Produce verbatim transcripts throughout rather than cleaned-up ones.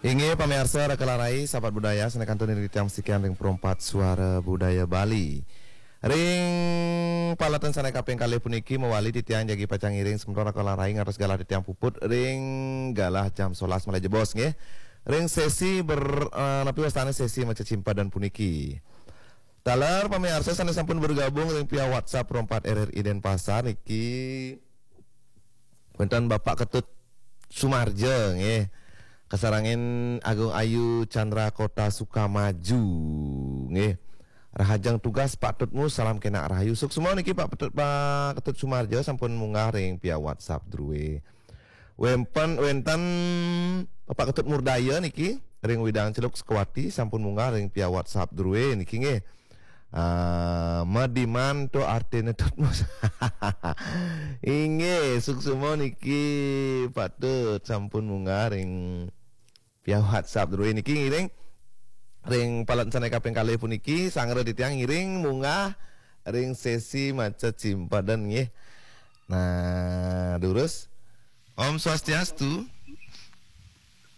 Inggih pamiarsa Raka Larai, sahabat budaya, sané kantun ring titiang sikian ring Perempat Suara Budaya Bali. Ring paletan sané kaping kalih puniki mawali titiang jagi pacang ngiring semeton Raka Larai ngantos galah titiang puput ring galah jam sebelas malih jebos nggih. Ring sesi ber-, eh, napi wastané sesi maca cimpadan puniki. Taler pamiarsa sané sampun bergabung ring via WhatsApp Perempat R R I Denpasar niki. Wénten Bapak Ketut Sumarja nggih. Kasarengin Agung Ayu Chandra Kota Sukamaju nggih. Rahajeng tugas Pak Tutmu, salam kénak rahayu. Suksma niki Pak Petut, Pak Ketut Sumarja sampun munggah ring via WhatsApp druwé. Wénten, wénten Bapak Ketut Murdaya niki ring Widang Celuk Sukawati sampun munggah ring via WhatsApp druwé niki nggih. Ah, madiman to artiné Tutmus. Inggih, suksma niki Pak Tut sampun munggah ring via WhatsApp druwé niki ngiring ring paletan sané kaping kalih puniki, sangra titiang ngiring munggah ring sesi maca cimpadan nggih. Nah, durus. Om Swastiastu.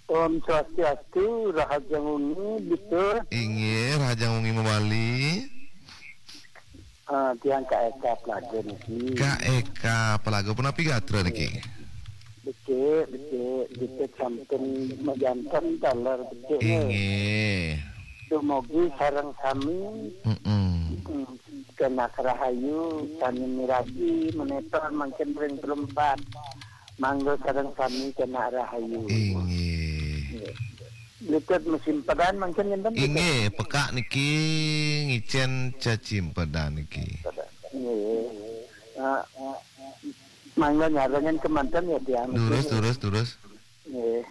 Om Swastiastu, rahajeng wengi, Bitur. Inggih, rahajeng wengi mawali. Ah, tiang Kak Eka Plaga niki. Kak Eka Plaga, punapi gatra niki? Becik, becik, becik sampun majanten taler becik nggih. Inggih. Dumugi sareng sami. Mm-mm. Mm, kenak rahayu, sami miragi, monitor mangkin ring Perempat. Mangga sareng sami kenak rahayu. Inggih. Nggih. Lutut musim pedan mangkin ngenten, Lutut? Inggih, pekak niki ngicén cecimpedan niki. Nggih. Ah, mangga nyarengin kemanten ya, tiang. Durus, nggih. Durus, durus. Nggih.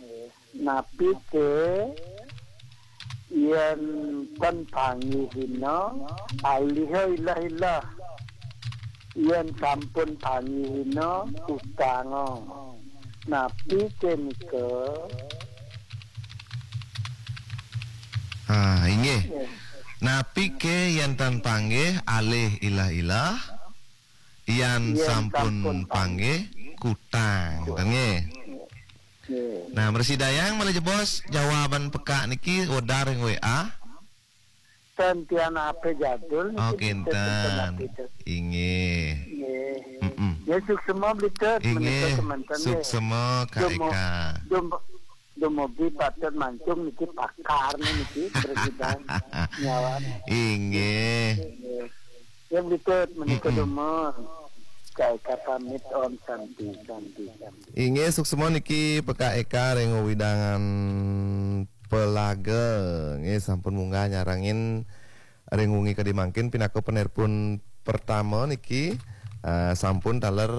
Napi ké yén tan panggihina, aliha ilah-ilah. Yén sampun panggihina, kutanga. Napi ké nika? Ah, inggih. Nggih. Napi ké yén tan panggih, alih ilah-ilah? Yén sampun panggih, kutang. Kutang. Nggih. Nggih. Nah, mresidayang malih jebos jawaban pekak niki wedar ring W A. Ten tiang H P jadul niki. Oh, kinten. Inggih. Nggih. Mm-mm. Ya, suksma, Blitet, inggih, menika semanten, nggih. Suksma, Kak Eka. Dumo-, dumo-, dumugi Pak Tut Mancung niki pakar niki, Presiden. Nyawan. Inggih. Nggih. Ya, Blitet, menika, mm-mm, dumun. Kak Eka pamit, Om Santi, Santi, Santi. Inggih, suksma niki P K Eka ring wewidangan Pelaga. Nggih, sampun munggah nyarengin ring wengi kadi mangkin pinaka penerpun pertama niki, eh, sampun taler,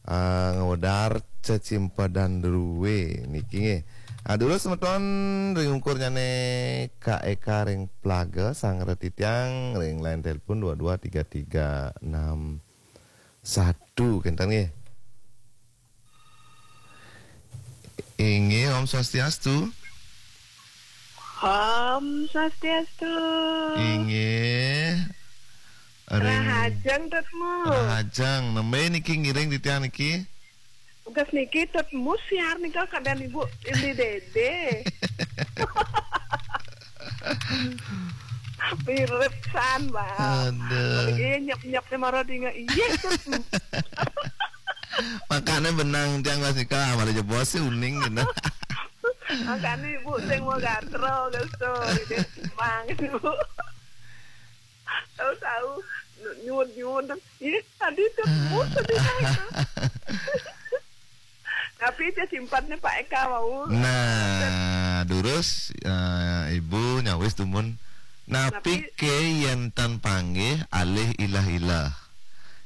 eh, ngwedar cecimpedan druwé niki nggih. Ah, durus semeton ring ungkurnyané Kak Eka ring Pelaga, sang retitiang ring line telepon dua dua tiga tiga enam satu, kinten nggih. Inggih, Om Swastiastu. Om Swastiastu. Inggih. Ring rahajeng, Tutmu. Rahajeng. Nembé niki ngiring titiang niki? Tugas niki Tutmu siar nika kadén Ibu Indi Dede. Mirip san, Mbak. Aduh. Iya, nyep-nyep nih mara dinga. Iya, Tutmu. Makanya benang tiang Mas Nika, malah jebos sih uning gitu. Makanya Ibu sing mau gatra, gitu. Mang, Ibu. Tahu-tahu nyuwun-nyuwun. Ih, tadi Tutmu tadi, Pak. Tapi dia simpannya Pak Eka mau. Nah, durus, eh, Ibu nyawis dumun. Napi, napi ké yén tan panggih alih ilah-ilah.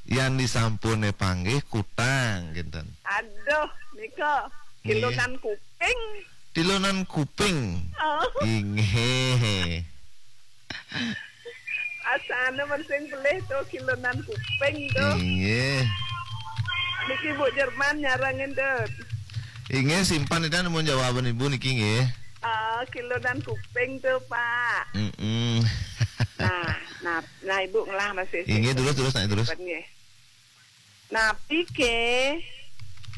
Yén disampuné panggih kutang, kinten. Aduh, nika. Nggih. Kilunan kuping. Tilunan kuping. Oh. Inggih. Asana men sing pelih to, kilunan kuping to. Inggih. Niki Bu Jerman nyarengin, Dut. Inggih, simpan ida nemu jawaban Ibu niki nggih. Ah, kilunan kuping to, Pak. Mm-mm. Nah, nah, nah, Ibu ngelah masih. Inggih, terus, terus, naik terus. Simpan nggih. Napi ké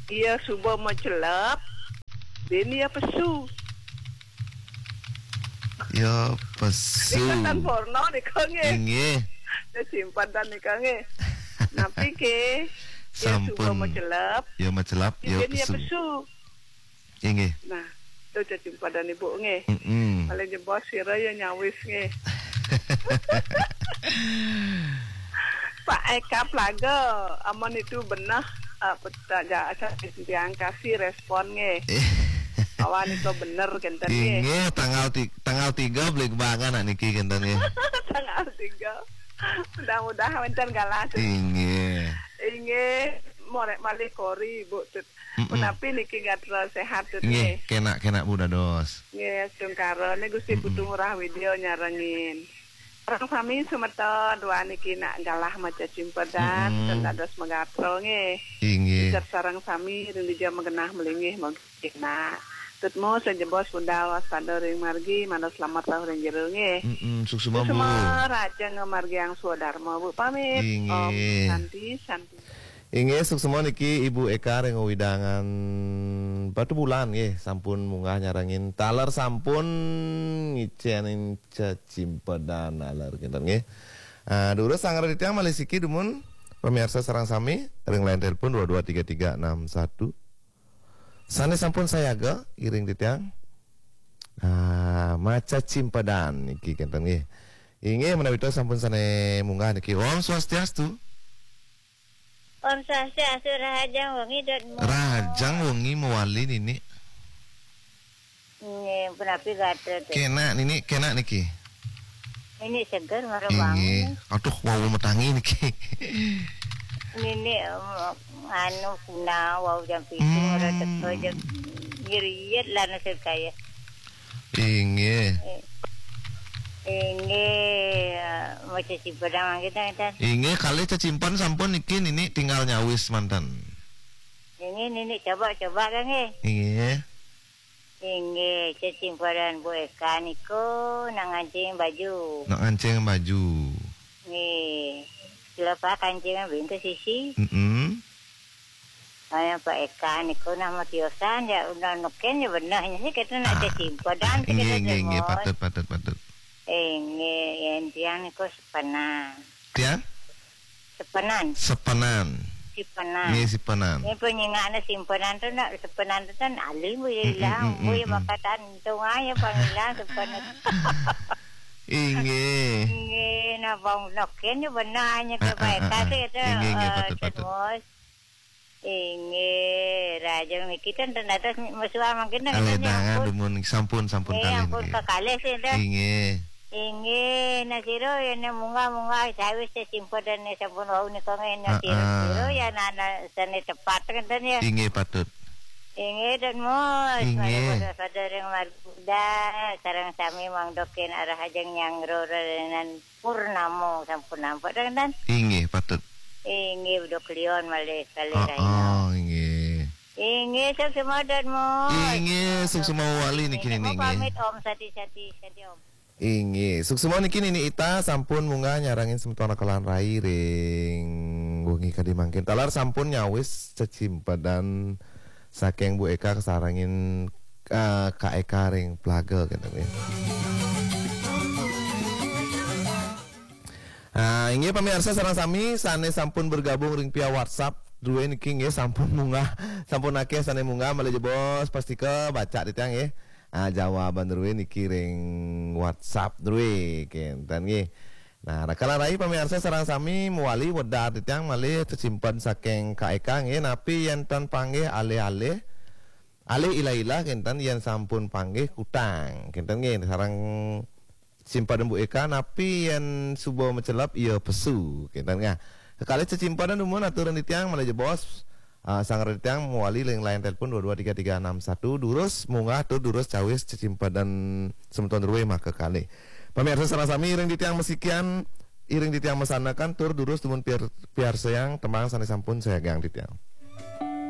ia suba macelep, bin ia pesu. Ya pesu. Nika tan porno nika nggih. Inggih. Cecimpedan nika nggih. Napi ke? Ya suba macelep. Ya macelep, ya pesu. Inggih. Nah, tu cecimpedan ibu nggih. Mm-mm. Paling jebos sira ya nyawis nggih. Pak Eka Plaga, amun itu beneh, eh, peta-, ja-, tiang kasih respon nggih. Awan itu bener kenten nggih. Inggih, tanggal ti-, tanggal tiga beli kebangan nak niki kenten nggih. Tanggal tiga. Mudah-mudahan wenten galah tu. Inggih. Inggih, morek malih kori, Bu. Mm-mm. Menapi niki gatra sehat tu nggih, nggih. Kena, kena Bu dados. Nggih, tungkara ni Gusti Mm-mm. Putu Ngurah Widya nyarengin. Sareng sami semeton dua niki nak galah maca cimpedan, mm-mm, ten dados magatra nggih. Inggih. Sareng sami ring dija magenah malinggih mangkin nak. Tutmu sejebos budal waspada ring margi, manut selamat rauh ring jero nggih. Mm-mm, suksma, Bu. Suksma, raja ngamargiang swadarma, Bu, pamit. Inggih. Om Santi, Santi. Inggih, suksma niki Ibu Eka ring wewidangan Batubulan nggih, sampun munggah nyarengin taler sampun ngicenin cecimpedan taler kinten nggih. Ah, durus sanggra titiang malih siki dumun pamiarsa sareng sami ring line telepon dua dua tiga tiga enam satu. Sane sampun sayaga iring titiang. Ah, maca cimpedan niki kinten nggih. Inggih menawi sampun sane munggah niki. Om Swastiastu. Om Swastiastu, rahajeng wengi, Dot Mo. Rahajeng wengi mawali, Nini. Nggih, punapi gatra, Dot? Kena, Nini, kena niki. Nini seger, mara bangun. Inggih. Aduh, wau matangi niki. Nini, em, anu, kuna, wau jam pitu, hmm, mara teka jam, ngiriet lah nasib kaya. Inggih. Eh, inggih, eh, maca cimpedan mangkin, ten. Inggih, kalih cecimpedan sampun niki Nini tinggal nyawis manten. Inggih, Nini coba-coba kan nggih. Inggih. Inggih, cecimpedan Bu Eka niku nak ngancing baju. Nak ngancing baju. Nggih. Sila Pak kancing bintu sisi. Mm-mm. Ayo, Pak Eka niku nama tiosan ya, udah nuken ya benehnya sih, kita nak cecimpedan, ah, kita inggih, inggih, inggih, patut, patut, patut. Inggih, yen tiang niku sepenan. Tiang? Sepenan. Sepenan. Sipenan. Nggih, sipenan. Ini penyingaknya simpenan tu nak, sepenan tu kan alim, bu, ya, mm, hilang, mm, mm, bu, ya, mm, makatan, untung aja panggilan sepenan. Inggih. Inggih, nah, bang, nuken ya benehnya ke, ah, Pak Eka, ah, sih, itu, inggih, inggih, eh, patut, patut. Terus. Inggih, rahajeng niki ten dados mesuang mangkin ten, nggih, ampun. Dumun sampun, sampun, nggih, kalih ampun niki. Kekalih sih, ten. Inggih. Inggih, nah sira yen munggah-munggah sawis cecimpedan sampun wau nika nggih, nah sira, heeh, sira ya nana sane tepat ngenten ya. Inggih, patut. Inggih, Dot Mus. Inggih. Mari pada sadering margi Buddha, sareng sami mangdokin arah ajeng nyangro rerenan Purnamo sampun nampak, ten, ten? Inggih, patut. Inggih, Bedok Leon malih kalih, heeh, rahina. Inggih. Inggih, suksma, Dot Mus. Inggih, suksma wali niki, nggih, Nini, nggih. Pamit, Om, sati, sati, sati, Om. Inggih, suksma niki Nini Ita sampun munggah nyarengin semeton Rakalan Rai ring wengi kadi mangkin. Taler sampun nyawis cecimpedan saking Bu Eka kasarengin, eh, Kak Eka ring Plaga, kenten nggih. Ah, inggih pamiarsa sareng sami sane sampun bergabung ring via WhatsApp druwe niki nggih, sampun munggah, sampun akeh sane munggah, malih jebos pastika baca titiang nggih. Ah, jawaban druwe niki ring WhatsApp druwe kenten nggih. Nah, Rakalan Rai pamiarsa sareng sami mawali wedar titiang malih cecimpedan saking Kak Eka nggih, napi yen ten panggih alih-alih, alih ilah-ilah kenten, yen sampun panggih kutang kenten nggih, sareng cimpedan Bu Eka, napi yen suba macelep iya pesu kenten nggih. Kekalih cecimpedan dumun aturan titiang malih jebos. Ah, sanggra titiang mawali ring line telepon dua dua tiga tiga enam satu, durus munggah tur durus cawis cecimpedan semeton druwe maka kalih. Pamiarsa sareng sami, iring titiang masikian, iring titiang masanakan tur durus dumun piar-, piarsayang tembang sane sampun sayagang titiang.